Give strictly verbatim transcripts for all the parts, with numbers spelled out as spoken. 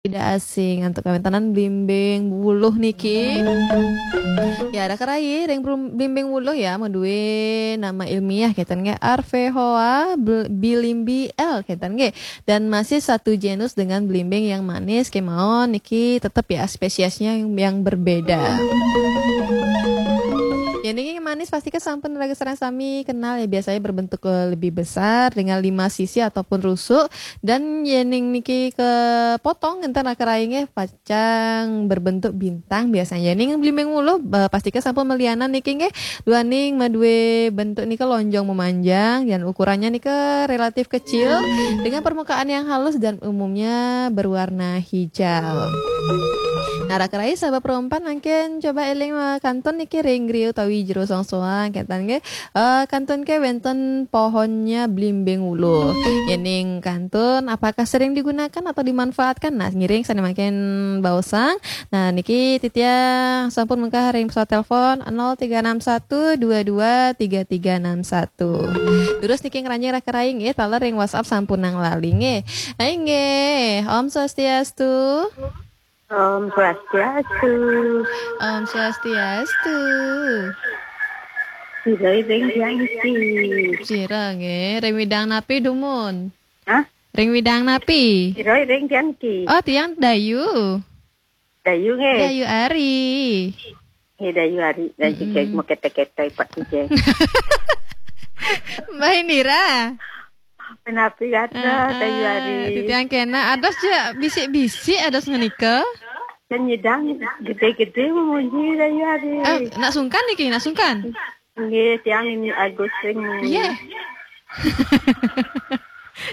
Tidak asing untuk kawéntenan blimbing wuluh niki. Ya, raka rayi, ring brum-, blimbing wuluh ya, madué nama ilmiah kénten nggih, Arfehoa bl-, bilimbi L kénten nggih. Dan masih satu genus dengan blimbing yang manis kémaon niki, tetep ya spesiesnya yang, yang berbeda. Ya, niki manis pasti kan sampun raga sareng sami kenal ya, biasanya berbentuk, eh, lebih besar dengan lima sisi ataupun rusuk. Dan yéning niki kepotong, énten raka rayi nggih, pacang berbentuk bintang biasanya. Yéning blimbing wuluh, eh, pasti kan sampun malianan niki nggih, duaning madué bentuk nika lonjong memanjang dan ukurannya nika relatif kecil dengan permukaan yang halus dan umumnya berwarna hijau. Nah, raka rayi sahabat Pro Empat mangkin coba éling, eh, kantun niki ring griya utawi jero soang-soang, kénten nggih. Eh, kantun ké wénten pohonnya blimbing wuluh. Yéning kantun, apakah sering digunakan atau dimanfaatkan? Nah, ngiring sané mangkin baosang. Nah, niki titiang sampun mengkah ring pesawat telepon nol tiga enam satu dua dua tiga tiga enam satu. Terus niki ngranjing raka rayi nggih, taler ring WhatsApp sampunang lali nggih. Hai nggih, Om Swastiastu. Om Swastiastu. Om Swastiastu. Sira ring tiang iki. Sira nggih, ring widang napi dumun? Hah? Ring widang napi? Sira ring tiang iki. Oh, tiang Dayu. Dayu nggih. Dayu Ari. Nggih, Dayu Ari. Dan Mm-mm. Cicing mau kete-kete Pak Cicing. Mbah Indira. Menapi kata, Dayu Ari. Titiang kena, ados ja bisik-bisik, ados ngenika. Dan nyidang gedé-gedé memuji Dayu Ari. Eh, nak sungkan niki, nak sungkan? Nggih, tiang ini Agus sing. Iya.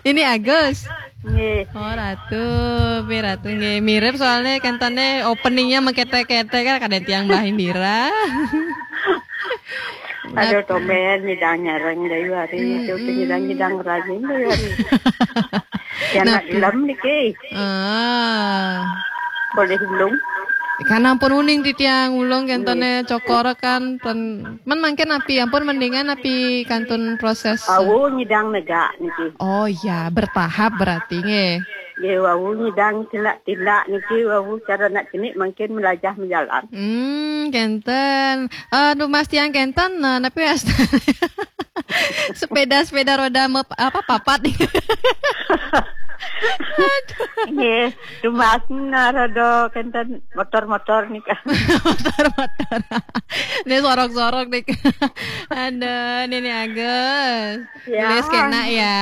Ini Agus. Nggih. Oh, Ratu, pi Ratu nggih. Mirip soalnya kentene openingnya mekete-kete kan kadang tiang Mbah Indira. Aduh, tomen nyidang nyareng Dayu Ari, mm, itu nyidang-nyidang rajin Dayu Ari. Ya, nak gelem niki. Ah. Boleh ulung. Kan ampun uning titiang ulung kentene cokor kan ten-, men mangkin api ampun mendingan api kantun proses. Awu nyidang negak niki. Oh iya, bertahap berarti nggih. Nggih, wau nyidang tilak-tilak niki, wau cara nak cenik mangkin melajah menjalan. Hmm, kenten. Aduh, Mas tiang kenten, nah, napi wasta. Sepeda-sepeda roda mep-, apa, papat. Aduh. Nggih, dumas narado kenten motor-motor nika. Motor-motor. Ini sorok-sorok nika. Aduh, Nini Agus. Ya. Nulis kena ya.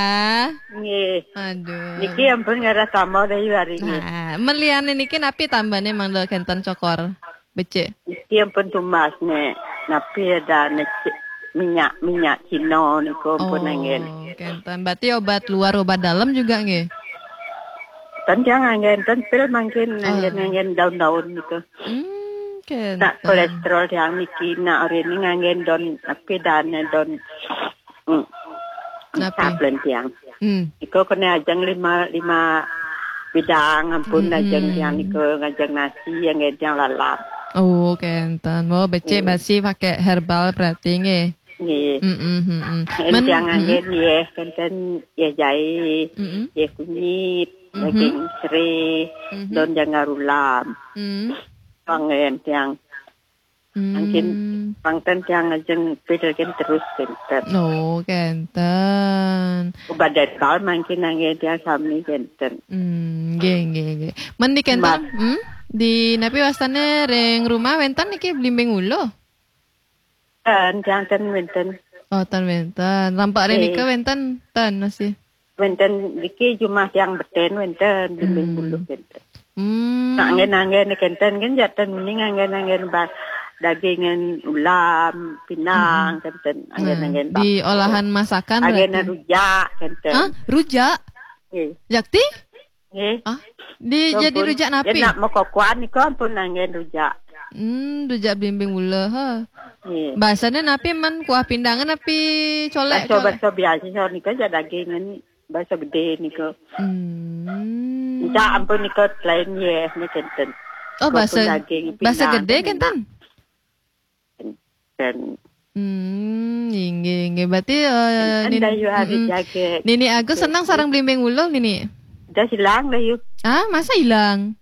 Nggih. Aduh. Niki ampun ngarah sama Dayu Ari nggih. Nah, meliane niki napi tambane mangda kenten cokor? Becik. Niki ampun tumbas nek napi ada nek minyak, minyak Cina niku ampun anggen. Oh, kenten. Berarti obat luar, obat dalam juga nggih? Ten tiang anggen, ten pil mangkin anggen, anggen daun-daun niku. Hmm, kenten. Nak kolesterol tiang niki, nak hari ini nganggen don, napi dane don, hmm, napi? Sablon tiang. Hmm. Iko kena ajeng lima, lima bidang ampun, hmm, ajeng tiang niko ngajeng nasi yang ngajeng lalap. Oh, kenten. Oh, becik basi pakai herbal berarti nggih. Nggih. Mm, mm, mm, mm. Men, tiang anggen nggih, kenten nggih jahe, mm, nggih kunyit, daging serai, don jangar ulam. Mm. Anggen tiang. Mangkin pangten tiang ajeng pidel ken terus kenten. Oh, kenten. Badai bal mangkin anggen tiang sami kenten. Hmm, nggih, nggih, nggih. Men di kenten, hmm? Di napi wastane ring rumah wenten niki blimbing wuluh? Ten, tiang ten wenten. Oh, ten wenten. Rampak ring nika wenten, ten masih. Wenten niki jumah tiang beten wenten, blimbing wuluh wenten. Hmm. Nak anggen-anggen kenten kan jatan uning anggen-anggen ba-, dagingan ulam, pinang kenten, anggen-anggen di bakso. Olahan masakan anggen berarti. Rujak kenten. Hah? Rujak? Nggih. Jakti? Nggih. Ah, di, jadi rujak napi? Nak mekokoan niku ampun anggen rujak. Hmm, rujak blimbing wuluh, ha. Nggih. Bahasane napi man kuah pindangan napi colek? Bakso, colek. Bakso biasa nika ja dagingan. Bakso gede niku. Hmm. Enggak, ampun niku lain nggih, niki kenten. Oh, bakso, bakso gede kenten? Kenten. Hmm, inggih, inggih. Berarti, eh, Nini Agus seneng sareng blimbing wuluh, Nini? Dah hilang dah, you. Ah, masa hilang?